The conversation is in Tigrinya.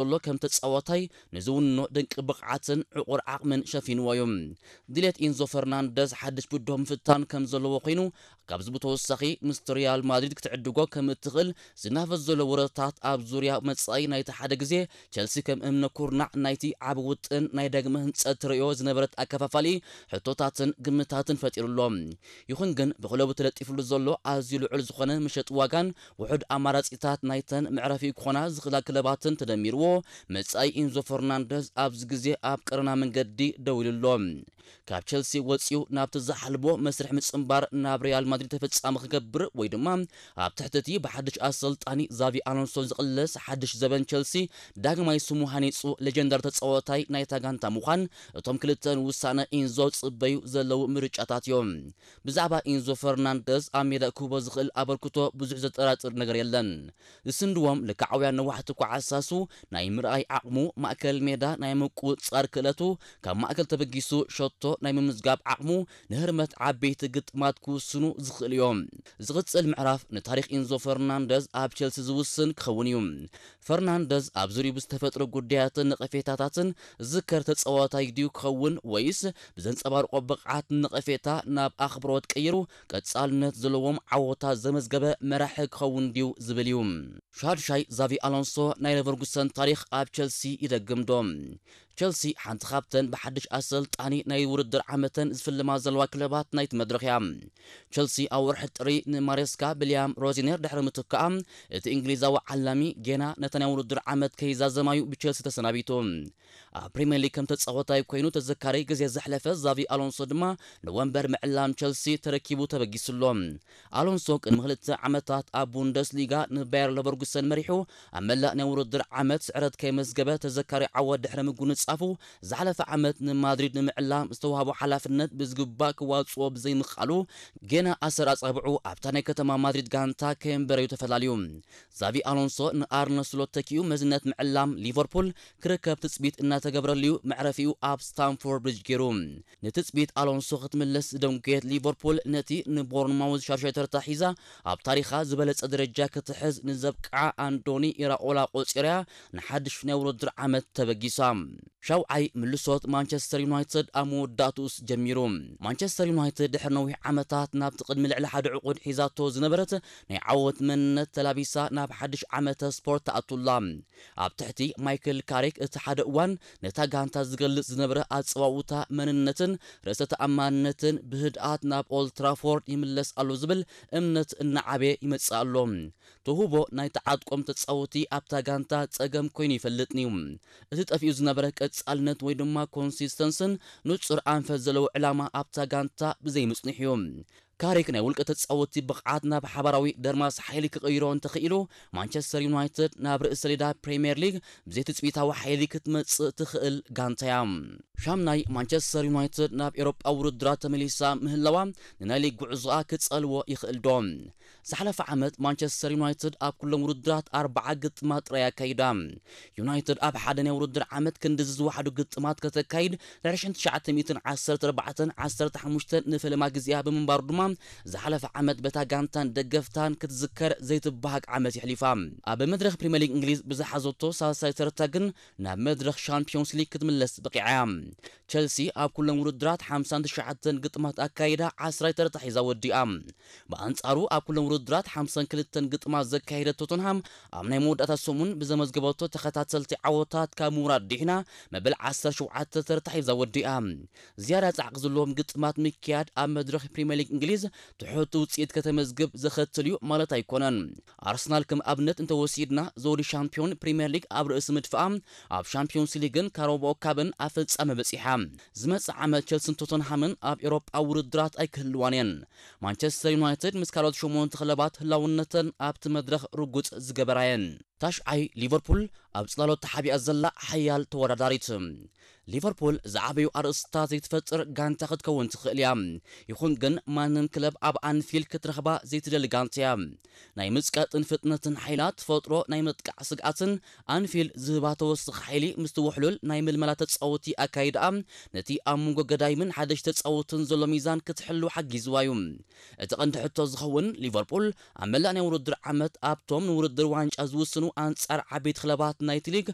ዘሎ ከም ተጻዋታይ ንዝውንኖ ድንቂ ብቕዓትን ዕቑር ዓቕምን ሸፊንዎ እዩ። ድሌት ኢንዞ ፈርናንደዝ ሓድሽ ብድሆ ምፍታን ከም ዘለዎ ኮይኑ፣ ካብዚ ብተወሳኺ ምስ ሪያል ማድሪድ ክትዕድጎ ከም እትኽእል ዝናፈስ ዘሎ ወረታት ኣብ ዙርያ መጻኢ ናይቲ ሓደ ግዜ ቸልሲ ከም እምነ ኩርናዕ ናይቲ ዓቢ ውጥን ናይ ዳግመ ህንጸት ትርእዮ ዝነበረት ኣከፋፋሊ ሕቶታትን ግምታትን ፈጢሩሎ። ይኹን ግን ብክለቡ ተለጢፍሉ ዘሎ ኣዝዩ ልዑል ዝኾነ መሸጢ ዋጋን ውሑድ ኣማራጺታት ናይተን መዕረፊ ክኾና ዝኽእላ ክለባትን ተደሚርዎ፣ መጻኢ ኢንዞ ፈርናንደዝ ኣብዚ ግዜ ኣብ ቀረና መንገዲ ደው ኢሉ ኣሎ። ካብ ቸልሲ ወጺኡ ናብቲ ዝሓልሞ መስርሕ ምጽንባር ናብ ሪያል ማድሪድ ተፈጻሚ ክገብር ወይ ድማ ኣብ ትሕቲ እቲ ብሓድሽ ኣሰልጣኒ ዛቪ ኣሎንሶ ዝቕለስ ሓድሽ ዘበን ቸልሲ ዳግማይ ስሙ ሃኒጹ ሌጀንዳሪ ተጻዋታይ ናይታ ጋንታ ምዃን እቶም ክልተ ንውሳነ ኢንዞ ዝጽበዩ ዘለዉ ምርጫታት እዮም። ብዛዕባ ኢንዞ ፈርናንደዝ ኣብ ሜዳ ክህቦ ዝኽእል ኣበርክቶ ብዙሕ ዘጠራጥር ነገር የለን። ዝስንድዎም ልክዓውያን ነዋሕቲ ኳዕሳሱ ናይ ምርኣይ ዓቕሙ፣ ማእከል ሜዳ ናይ ምቁጽጻር ክእለቱ፣ ካብ ማእከል ተበጊሱ ሸቶ ናይ ምምዝጋብ ዓቕሙ ንህርመት ዓበይቲ ግጥማት ክውስኑ ዝኽእል እዮም። ዝቕጽል ምዕራፍ ንታሪኽ ኢንዞ ፈርናንደዝ ኣብ ቸልሲ ዝውስን ክኸውን እዩ። ፈርናንደዝ ኣብ ዙርዩ ብዝተፈጥሮ ጉዳያትን ነቐፌታታትን ዝዝከር ተጻዋታይ ድዩ ክኸውን ወይስ ብዘንጸባርቆ ብቕዓት ነቐፌታ ናብ ኣኽብሮት ቀይሩ ቀጻልነት ዘለዎም ዓወታት ዘመዝገበ መራሒ ክኸውን ድዩ ዝብል እዩ። ሻድሻይ ዛቪ ኣሎንሶ ናይ ሌቨርጉሰን ታሪኽ ኣብ ቸልሲ ይደግም ዶ? ቸልሲ ሓንቲ ካብተን ብሓድሽ ኣሰልጣኒ ናይ ውድድር ዓመተን ዝፍልማ ዘለዋ ክለባት ናይቲ መድረኽ እያ። ቸልሲ ኣብ ወርሒ ጥሪ ንማሬስካ ብልያም ሮዚነር ድሕሪ ምትካኣ፣ እቲ እንግሊዛዊ ዓላሚ ጌና ነታ ናይ ውድድር ዓመት ከይዛዘማዩ ብቸልሲ ተሰናቢቱ። ኣብ ፕሪምየር ሊግ ከም ተጻዋታይ ኮይኑ ተዘካሪ ግዜ ዘሕለፈ ዛቪ ኣሎንሶ ድማ ንወንበር ምዕላም ቸልሲ ተረኪቡ ተበጊሱ ኣሎ። ኣሎንሶ ቅድሚ ክልተ ዓመታት ኣብ ቡንደስሊጋ ንባየር ለቨርጉሰን መሪሑ ኣብ መላእ ናይ ውድድር ዓመት ስዕረት ከይመዝገበ ተዘካሪ ዓወት ድሕሪ ምጉንጻፉ፣ ዝሓለፈ ዓመት ንማድሪድ ንምዕላም ዝተዋህቦ ሓላፍነት ብዝግባእ ክዋጽኦ ብዘይምኽኣሉ፣ ጌና ኣሰር ኣጻብዑ ኣብታ ናይ ከተማ ማድሪድ ጋንታ ከየንበረዩ ተፈላልዩ። ዛቪ ኣሎንሶ ንኣርነ ስሎት ተኪኡ መዝነት ምዕላም ሊቨርፑል ክርከብ ትጽቢት እናተገብረሉዩ መዕረፊኡ ኣብ ስታንፎርድ ብሪጅ ገይሩ። ንትጽቢት ኣሎንሶ ክትምለስ ዝደንጎየት ሊቨርፑል ነቲ ንቦርንማውዝ ሻድሻይ ተርታ ሒዛ ኣብ ታሪኻ ዝበለጸ ደረጃ ክትሕዝ ንዘብቅዓ ኣንዶኒ ኢራኦላ ቆጺራያ ንሓድሽ ናይ ውድድር ዓመት ተበጊሳ። ሻውዓይ ምልሶት ማንቸስተር ዩናይትድ ኣብ መወዳእትኡስ ጀሚሩ። ማንቸስተር ዩናይትድ ድሕሪ ነዊሕ ዓመታት ናብቲ ቅድሚ ልዕሊ ሓደ ዕቑድ ሒዛቶ ዝነበረት ናይ ዓወት መንነት ተላቢሳ ናብ ሓድሽ ዓመተ ስፖርት ተኣቱላ። ኣብ ትሕቲ ማይክል ካሪክ እቲ ሓደ እዋን ነታ ጋንታ ዝገልጽ ዝነበረ ኣጸዋውታ መንነትን ርእሰ ተኣማንነትን ብህድኣት ናብ ኦልድ ትራፎርድ ይምለስ ኣሎ ዝብል እምነት እናዓበየ ይመጽእ ኣሎ። ተውህቦ ናይቲ ዓጥቆም ተጻወቲ ኣብታ ጋንታ ጸገም ኮይኑ ይፈልጥን እዩ። እቲ ጠፊኡ ዝነበረ ቀጻልነት ወይ ድማ ኮንሲስተንስን ንጹር ኣንፈት ዘለዎ ዕላማ ኣብታ ጋንታ ብዘይምጽንሑ እዩ። ካሪክ ናይ ውልቀ ተጻወቲ ብቕዓት ናብ ሓባራዊ ደርማስ ሓይሊ ክቕይሮ እንተኽኢሉ፣ ማንቸስተር ዩናይትድ ናብ ርእሲ ሰሌዳ ፕሪምየር ሊግ ብዘይትጽቢታዊ ሓይሊ ክትመጽእ ትኽእል ጋንታ እያ። ሻምናይ ማንቸስተር ዩናይትድ ናብ ኤውሮጳ ውድድራት ተመሊሳ ምህላዋ ንናይ ሊግ ጉዕዞኣ ክጸልዎ ይኽእል ዶ? ዝሓለፈ ዓመት ማንቸስተር ዩናይትድ ኣብ ኩሎም ውድድራት ኣርብዓ ግጥማት ጥራይ ኣካይዳ። ዩናይትድ ኣብ ሓደ ናይ ውድድር ዓመት ክንድዚ ዝወሓዱ ግጥማት ከተካይድ ድሕሪ ሽሕን ትሽዓተ ሚእትን ዓሰርተ ኣርባዕተን ዓሰርተ ሓሙሽተን ንፈለማ ግዜኣ ብምንባሩ ድማ ዝሓለፈ ዓመት በታ ጋንታን ደገፍታን ክትዝከር ዘይትበሃግ ዓመት የሕሊፋ። ኣብ መድረኽ ፕሪምየር ሊግ እንግሊዝ ብዝሓዘቶ ሳልሳይ ተርታ ግን ናብ መድረኽ ሻምፒዮንስ ሊግ ክትምለስ በቂዓ እያ። ቸልሲ ኣብ ኩሎም ውድድራት ሓምሳን ትሽዓተን ግጥማት ኣካይዳ ዓስራይ ተርታ ሒዛ ወዲኣ። ብኣንጻሩ ኣብ ኩሎም ውድድራት ሓምሳን ክልተን ግጥማት ዘካየደት ቶተንሃም ኣብ ናይ መወዳእታ ሰሙን ብዘመዝገበቶ ተኸታተልቲ ዓወታት ካብ ምውራድ ድሒና መበል ዓሰርተ ሸውዓተ ተርታ ሒዛ ወዲኣ። ዝያዳ ጻዕቂ ዘለዎም ግጥማት ምክያድ ኣብ መድረኽ ፕሪምየር ሊግ እንግሊዝ ትሑት ውጽኢት ከተመዝግብ ዘኸትል እዩ ማለት ኣይኮነን። ኣርሰናል ከም ኣብነት እንተወሲድና፣ ዘውዲ ሻምፒዮን ፕሪምየር ሊግ ኣብ ርእሲ ምድፍኣ፣ ኣብ ሻምፒዮንስ ሊግን ካራባኦ ካፕን ኣብ ፍጻመ በጺሓ። ዝመጽእ ዓመት ቸልስን ቶተንሃምን ኣብ ኤውሮጳ ውድድራት ኣይክህልዋን እየን። ማንቸስተር ዩናይትድ ምስ ካልኦት ሸሞንተ ክለባት ህላውነተን ኣብቲ መድረኽ ርጉጽ ዝገበራ እየን። ታሽዓይ ሊቨርፑል ኣብ ጽላሎት ተሓቢኣ ዘላ ሓያል ተወዳዳሪት። ሊቨርፑል ዝዓበዩ ኣርእስታት ዘይትፈጥር ጋንታ ክትከውን ትኽእል እያ። ይኹን ግን ማንም ክለብ ኣብ ኣንፊልድ ክትረኽባ ዘይትደሊ ጋንታ እያ። ናይ ምጽቃጥን ፍጥነትን ሓይላ ትፈጥሮ ናይ ምጥቃዕ ስግኣትን ኣንፊልድ ዝህባ ተወሳኺ ሓይሊ ምስቲ ውሕሉል ናይ ምልመላ ተጻወቲ ኣካይዳኣ ነቲ ኣብ መንጎ ገዳይምን ሓደሽ ተጻወትን ዘሎ ሚዛን ክትሕሉ ሓጊዝዋ እዩ። እቲ ቀንዲ ሕቶ ዝኸውን ሊቨርፑል ኣብ መላእ ናይ ውድድር ዓመት ኣብቶም ንውድድር ዋንጫ ዝውስኑ ኣንጻር ዓበይቲ ክለባት ናይቲ ሊግ